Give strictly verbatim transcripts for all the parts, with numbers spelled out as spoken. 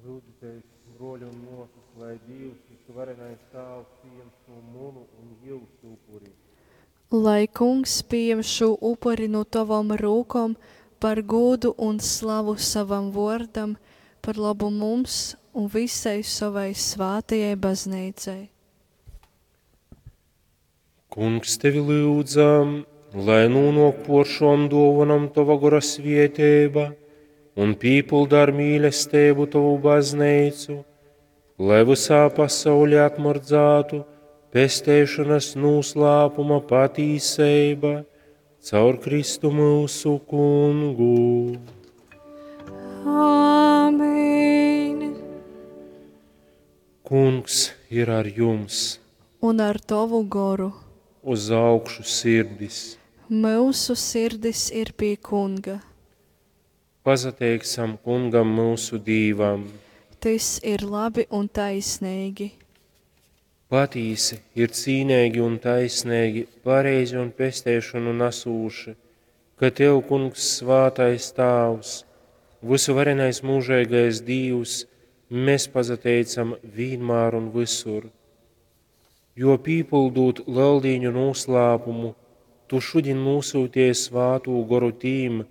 Lyudzitēs, bruoļi un muosys, lai Dīvs, vysuvarenais Tāvs, pījam šū munu un jiusu upuri. Lai Kungs pījam šū upuri nu tovom rūkom par gūdu un slavu sovam vuordam, par lobu mums un vysai sovai svātajai Bazneicai. Kungs, tevi lyudzam, lai nūnuok puor šuom duovonom tova gora svieteiba un pīpylda ar mīlesteibu tovu bazneicu, lai vysā pasaulī atmyrdzātu pesteišonas nūslāpuma patīseiba caur Kristu myusu Kungu. Āmen! Kungs ir ar jums! Un ar tovu goru. Uz augšu sirdis! Myusu sirdis ir pie Kunga. Pasateiksim Kungam myusu Dīvam! Tys ir labi un taisneigi. Patīsi ir cīneigi un taisneigi, pareizi un pesteišonu nasūši, ka Tev, Kungs, svātais Tāvs, vysuvarenais mūžeigais Dīvs, mēs pasateicam vīnmār un vysur. Jo pīpildūt Leldīņu noslēpumu, Tu šodien nosūtīji svātū goru tīm,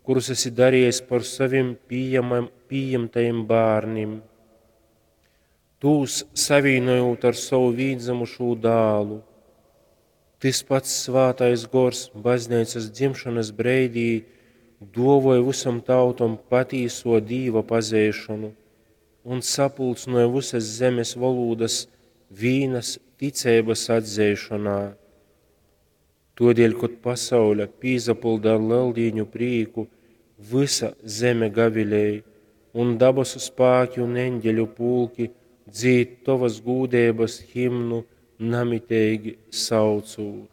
kurus esi darījis par savim pieejamam, pieņemtajiem bērniem. Tūs savīnojot ar savu vīnzemušū dālu. Tys pats svātais gors baznīcas dzimšanas breidī duovoja visam tautom patīso Dīva pazeišanu un sapulcināja visas zemes valodas vīnas ticeibas atzeišanā. Todēļ, kad pasaule pīzapilda ar leldīņu prīku, visa zeme gavilēja, un dabasu spāki un eņģeļu pulki dzīd tovas gūdeibas himnu namiteigi saucūt.